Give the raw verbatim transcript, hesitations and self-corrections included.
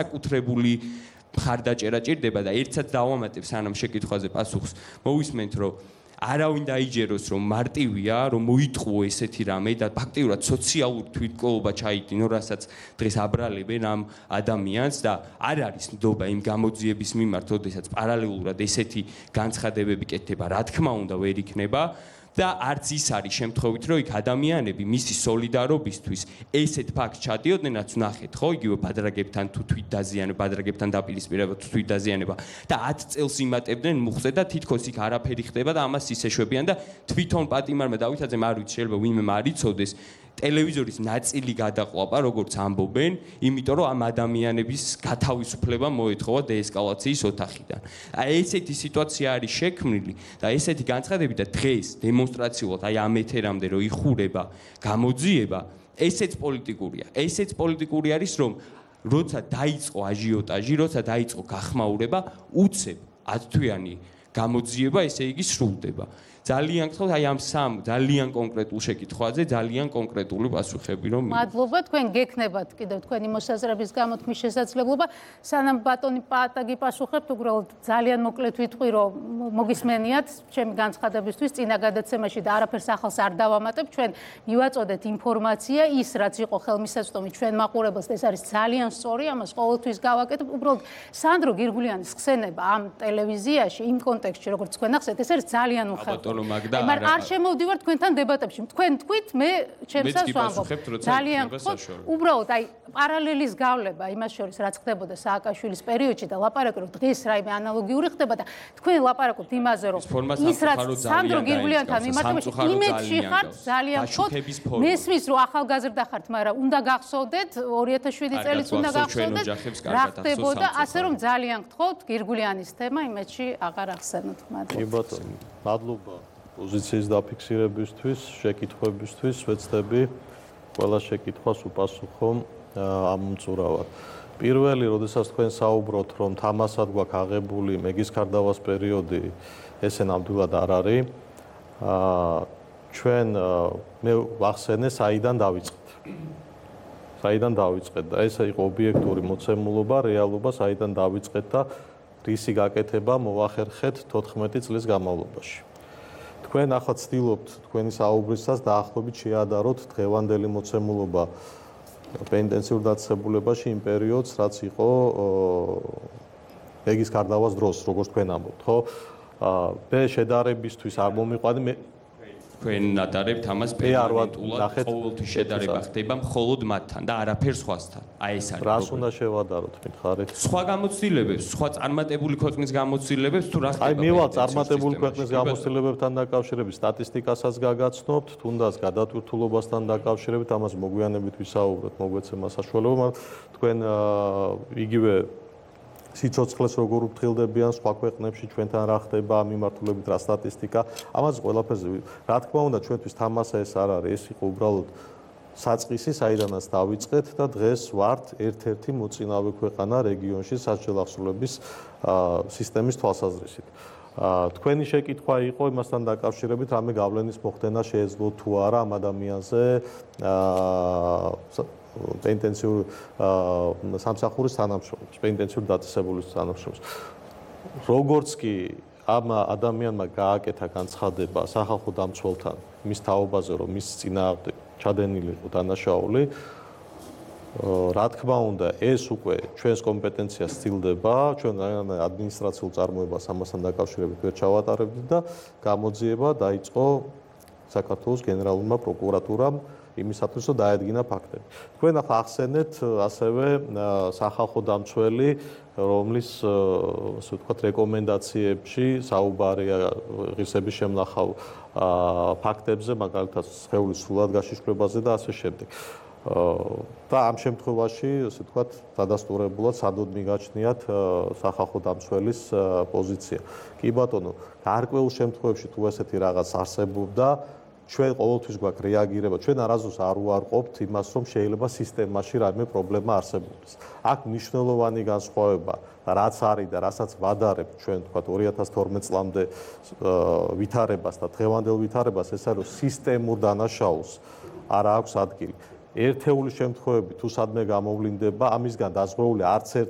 საკუთრებული მხარდაჭერა ჭირდება და ერთსაც დავამატებ სანამ შეკითხვაზე პასუხს მოვისმენთ რომ არავინ დაიჯეროს რომ მარტივია რომ მოიტყუო ესეთი რამე და ფაქტიურად სოციალური თვითმკვლელობა ჩაიდინო რასაც დღეს აბრალებენ ამ ადამიანს და არ არის ნდობა იმ გამოძიების მიმართ ოდესაც პარალელურად ესეთი განცხადებები კეთდება რა თქმა უნდა ვერ იქნება და არც ის არის შემთხვევით რომ იქ ადამიანები მისი სოლიდარობისთვის ესეთ ფაქტს ჩადიოდნენ რაც ნახეთ ხო იგივე ბადრაგებთან თუ თვით დაზიანება ბადრაგებთან დაპირისპირება თუ თვით დაზიანება და ათ წელს იმატებდნენ მუხზე და თითქოს იქ არაფერი ხდება და ამას ის ეშვებიან და თვითონ პატიმარმა დავითაძემ არ ვიცი შეიძლება ვინმე მარიცოდეს ტელევიზორის ნაწილი გადაყვაპა როგორც ამბობენ იმიტომ რომ ამ ადამიანების გათავისუფლება მოეთხოვა დეესკალაციის ოთახიდან აი ესეთი სიტუაცია არის შექმნილი და ესეთი განცხადები და დღეს დემონსტრაციულად აი ამ ეთერამდე რომ იხურება გამოძიება ესეც პოლიტიკურია ესეც პოლიტიკური არის რომ როცა დაიწყო აჟიოტაჟი როცა დაიწყო გახმაურება უცებ ათთვიანი გამოძიება ესე იგი სრულდება ძალიან გთხოვთ აი ამ სამ ძალიან კონკრეტულ შეკითხვაზე ძალიან კონკრეტული პასუხები რომ მადლობა თქვენ გექნებათ კიდევ თქვენი მოსაზრების გამოთქმის შესაძლებლობა სანამ ბატონი პატაგი პასუხებთ უბრალოდ ძალიან მოკლედ ვიტყვი რომ მოგისმენიათ ჩემი განცხადებისთვის წინა გადაცემაში და არაფერს ახალს არ დავამატებ ჩვენ მივაწოდეთ ინფორმაცია ის რაც იყო ხელმისაწვდომი ჩვენ მაყურებელს ეს არის ძალიან სწორი ამას ყოველთვის გავაკეთებ უბრალოდ სანდრო გირგულიანის ხსენება ამ ტელევიზიაში იმ კონტექსტში როგორც თქვენ ახსენეთ ეს არის ძალიან უხალხო მაგრამ არ შემოვდივარ თქვენთან დებატებში. თქვენ თქვით, მე ჩემსაც ვამბობ. ძალიან უბრალოდ აი პარალელის გავლება იმას შორის რაც ხდებოდა სააკაშვილის პერიოდში და ლაპარაკი რომ დღეს რაიმე ანალოგიური ხდება და თქვენ ლაპარაკობთ იმაზე რომ ის რაც სანდრო გირგულიანთან მიმართებაში იმედში ხართ ძალიან ხოთ მესმის რომ ახალგაზრდა ხართ, მაგრამ უნდა გახსოვდეთ ორი ათას შვიდი წელიც უნდა გახსოვდეთ რა ხდებოდა, ასე რომ ძალიან გთხოვთ გირგულიანის თემა იმედში აღარ ახსენოთ. მადლობა. მადლობა პოზიციის დაფიქსირებისთვის, შეკითხვებისთვის, ვეცდები ყველა შეკითხვას უპასუხო ამომწურავად. პირველი, როდესაც თქვენ საუბრობთ, რომ თამასად გვაქვს აღებული მეგის ქარდავას პერიოდი, ესე ნამდვილად არ არის. ჩვენ მე ვახსენე, საიდან დავიწყეთ. საიდან დავიწყეთ და ეს იყო ობიექტური მოცემულობა, რეალობა, საიდან დავიწყეთ და რისი გაკეთება მოვახერხეთ თოთხმეტი წლის განმავლობაში. თქვენ ახლა ცდილობთ თქვენი საუბრისას დაახლოებით შეადაროთ დღევანდელი მოცემულობა პენტენციურ დაწესებულებაში იმ პერიოდს, რაც იყო მეგის ქარდავას დროს, როგორც თქვენ ამბობთ, ხო? მე შედარებისთვის არ მომიყვანე მე თქვენ ნატარებთ ამას პერმანენტულად ყოველთვის შედარება ხდება მხოლოდ მათთან და არაფერ სხვასთან. აი ეს არის. რას უნდა შევადაროთ, მითხარით? სხვა გამოცდილებებს, სხვა წარმატებული ქვეყნის გამოცდილებებს თუ რა ხდება? აი მევა წარმატებული ქვეყნის გამოცდილებებთან დაკავშირებით სტატისტიკასაც გაგაცნობთ, თუნდაც გადატვირთულობასთან დაკავშირებით ამას მოგვიანებით ვისაუბროთ, მოგვეცემა საშუალება, თქვენ იგივე სიცოცხლეს როგორ უფრთხილდებიან სხვა ქვეყნებში ჩვენთან რა ხდება ამ მიმართულებით რა სტატისტიკა ამას ყველაფერზე რა თქმა უნდა ჩვენთვის თამასა ეს არ არის ეს იყო უბრალოდ საწყისი საიდანაც დავიწყეთ და დღეს ვართ ერთ-ერთი მოწინავე ქვეყანა რეგიონში სასჯელ აღსრულების სისტემის თვალსაზრისით თქვენი შეკითხვა იყო იმასთან დაკავშირებით რამე გავლენის მოხდენა შეეძლო თუ არა ამ ადამიანზე პენტენციურ სამსახურის თანამშრომლებს, პენტენციურ დაწესებულის თანამშრომლებს. როგორც კი ამ ადამიანმა გააკეთა განცხადება სახალხო დამცველთან მის თაობაზე, რომ მის წინააღმდეგ ჩადენილი იყო დანაშაული, რა თქმა უნდა, ეს უკვე ჩვენს კომპეტენციას ცდილდება, ჩვენ ადმინისტრაციულ წარმოებას ამასთან დაკავშირებით ვერ ჩავატარებდით და გამოძიება დაიწყო საქართველოს გენერალურმა პროკურატურამ იმისათვის რომ დაედგინა ფაქტები. თქვენ ახლა ახსენეთ ასევე სახალხო დამცველი, რომლის ასე ვთქვათ რეკომენდაციებში საუბარია ღირსების შემნახავ ფაქტებზე, მაგალითად სხეულის სრულად გაშიშვლებაზე და ასე შემდეგ. და ამ შემთხვევაში, ასე ვთქვათ, დადასტურებულად სადოდ მიგაჩნიათ სახალხო დამცველის პოზიცია. კი ბატონო, გარკვეულ შემთხვევებში თუ ესეთი რაღაც არსებობდა ჩვენ ყოველთვის გვაქვს რეაგირება. ჩვენ არასდროს არ უარყოფთ იმას, რომ შეიძლება სისტემაში რაიმე პრობლემა არსებობდეს. აქ მნიშვნელოვანი განსხვავება და რაც არის და რასაც ვადარებთ ჩვენ თქვათ ორი ათას თორმეტ წლამდე ვითარებას და დღევანდელ ვითარებას ეს არის რომ სისტემურ დანაშაულს არ აქვს ადგილი. ერთეული შემთხვევები თუ სადმე გამოვლინდება, ამისგან დაზღვეული არც ერთი